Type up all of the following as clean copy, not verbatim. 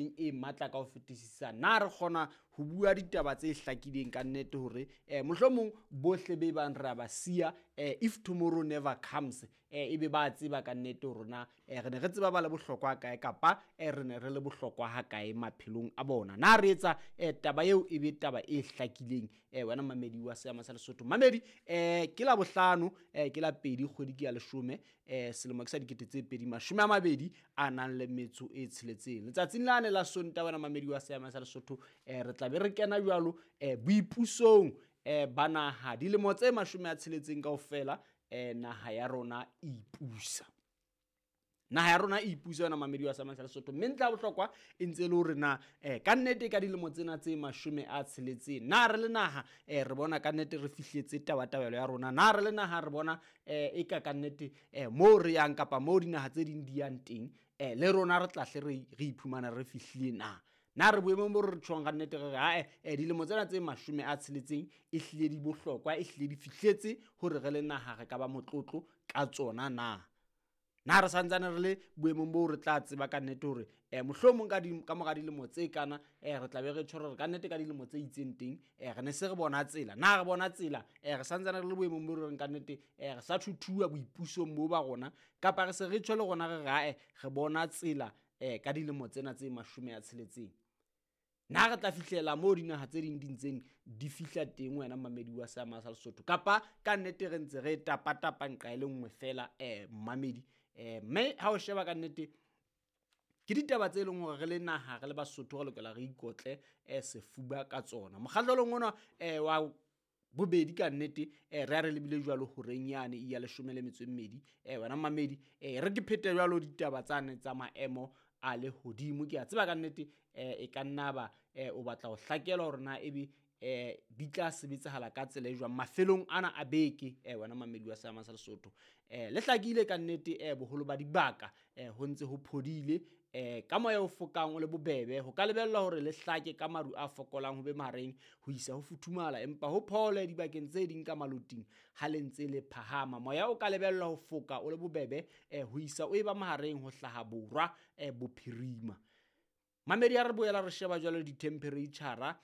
E matla ka ho fetisisa. Na re kgona ho bua ditaba tse hlakileng ka nnete hore mohlomong bohle be bang re a ba siya, if tomorrow never comes, ebe ba tseba ka nnete hore na re ne re tseba ba le bohlokwa kae, kapa re ne re le bohlokwa ha kae maphelong a bona? Na re etsa taba eo e be taba e hlakileng, wena mamedi wa Seama sa Lesotho? Mamedi, ke la bohlano, ke la 2, kgwedi ke ya 10, selemo ke sa 2026. Letsatsing lane la Sontaha, wena mamedi wa Seama sa Lesotho, re tla be re kena jwalo boipusong ba naha, dilemo tse 60 kaofela naha ya rona e ipusa. Naha ya rona e ipusa, yona mamedi wa Seama sa Lesotho. Mme ntlha ya bohlokwa e ntse e le hore na ka nnete ka dilemo tsena tse 60, na re le naha re bona ka nnete re fihletse tabatabelo ya rona? Na re le naha re bona e ka nnete moo re yang kapa moo dinaha tse ding di yang teng, le rona re tla hle re iphumana re fihlile na? Na re boemong bo re tjhong ka nnete re re ae, dilemo tsena tse 60 e hlile di bohlokwa, e hlile di fihletse hore re le naha re ka ba motlotlo ka tsona na? Na re santsane re le boemong boo re tla tseba ka nnete hore mohlomong ka mora dilemo tse kana, re tla be re tjho re ka nnete ka dilemo tse itseng teng, re ne se re bona tsela? Na re bona tsela? Re santsane re le boemong bo re reng ka nnete re sa thuthuwa boipusong bo ba rona, kapa re se re tjho le rona re re ae, re bona tsela ka dilemo tsena tse 60? Na re tla fihlela moo dinaha tse ding di ntseng di fihla teng, wena mamedi wa Seama sa Lesotho, kapa ka nnete re ntse re tapatapa nqa e le nngwe fela, mamedi? Mme ha o sheba ka nnete ke ditaba tse leng hore re le naha, re le Basotho, re lokela re ikotle sefuba ka tsona. Mokgahlelong ona wa bobedi ka nnete re a re lebile jwalo horeng yane ya 12, wena mamedi, re ke phete jwalo ditaba tsane tsa maemo a lehodimo. Ke a tseba ka nnete e ka nna ba o batla ho hlakelwa hore na ebe di tla sebetsahala ka tsela e jwang mafelong ana a beke, wena mamedi wa Seama sa Lesotho. Le hlakile ka nnete, boholo ba dibaka ho ntse ho phodile, ka moya o fokang o le bobebe. Ho ka lebellwa hore le hlake ka maru a fokolang ho be mahareng ho isa ho futhumala, empa ho phole dibakeng tse ding ka maloting ha le ntse le phahama. Moya o ka lebellwa ho foka o le bobebe ho isa o eba mahareng ho hlaha borwa bophirima. Mamedi, ha re boela re sheba jwalo di-temperature,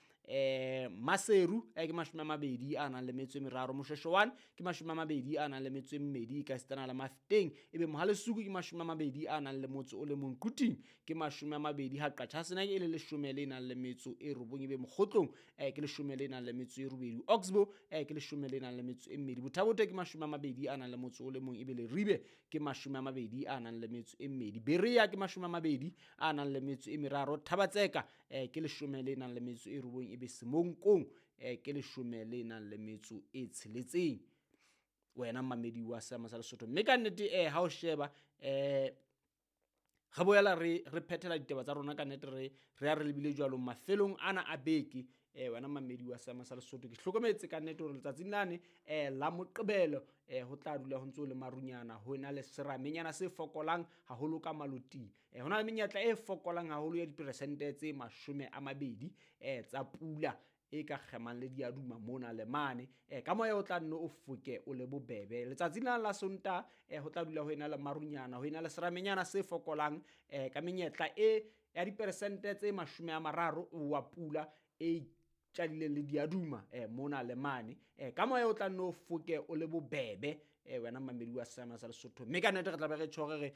Maseru ke 23, Moshweshwe 1 ke 22, ka sitana le Mafeteng, ebe Mohalesuku ke 21, Quthing ke 20, ha Qachaseneke e le 19, ebe Mokgotlong ke 18, Oxbow ke 12, Botha-Bothe ke 21, ebe Leribe ke 22, Berea ke 23, Thabatseka ke 19, ebe Semonkong ke 16, wena mamedi wa Seama sa Lesotho. Mme ka nnete ha o sheba re boela re phethela ditaba tsa rona ka nnete, re a re lebile jwalo mafelong ana a beke, wena mamedi wa Seama sa Lesotho. Ke hlokometse ka nnete hore letsatsing lane la Moqebelo ho tla dula ho ntse ho le marunyana, ho na le seramenyana se fokolang haholo ka maloting. Ho na le menyetla e fokolang haholo ya diperesente tse 20 tsa pula e ka kgemang le diaduma mona le mane, ka moya o tla nne o foke o le bobebe. Letsatsing la Sontaha ho tla dula ho ena le marunyana, ho ena le seramenyana se fokolang, ka menyetla e ya diperesente tse 30 wa pula e tjadileng le diaduma mona le mane, ka moya o tla nne o foke o le bobebe, wena mamedi wa Seama sa Lesotho. Mme ka nnete re tla be re tjho re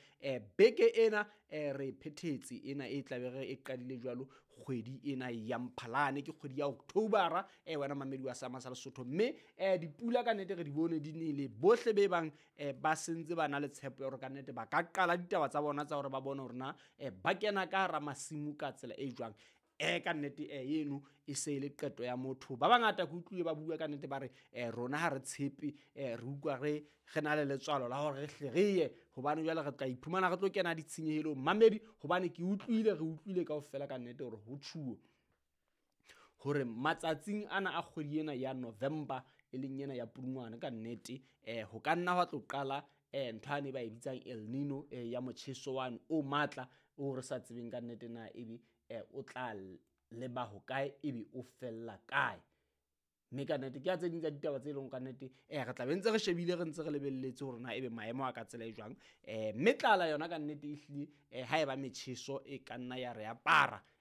beke ena re phethetse ena e tla be re e qadile jwalo kgwedi ena ya Mphalane, ke kgwedi ya Octobera, wena mamedi wa Seama sa Lesotho. Mme dipula ka nnete re di bone di nele, bohle be bang ba sentse ba na le tshepo ya hore ka nnete ba ka qala ditaba tsa bona tsa hore ba bone hore na ba kena ka hara masimo ka tsela e jwang. Ka nnete eno e se le qeto ya motho. Ba bangata ke utlwile ba bua ka nnete ba re rona ha re tshepe, re utlwa re na le letswalo la hore re hle re ye, hobane jwale re tla iphumana re tlo kena ditshenyehelong. Mamedi, hobane ke utlwile, re utlwile kaofela ka nnete hore ho tjhuo hore matsatsing ana a kgwedi ena ya November, e leng ena ya Pudungwana, ka nnete ho ka nna hwa tlo qala ntho ane ba e bitsang El Nino, ya motjheso wane o matla o re sa tsebeng ka nnete na ebe o tla leba hokae, ebe o fella kae. Mme ka nnete ke ya tse ding tsa ditaba tse leng ka nnete re tla be ntse re shebile, re ntse re lebelletse hore na ebe maemo a ka tsela e jwang. Mme tlala yona ka nnete ehlile ha eba metjheso e ka nna ya re apara.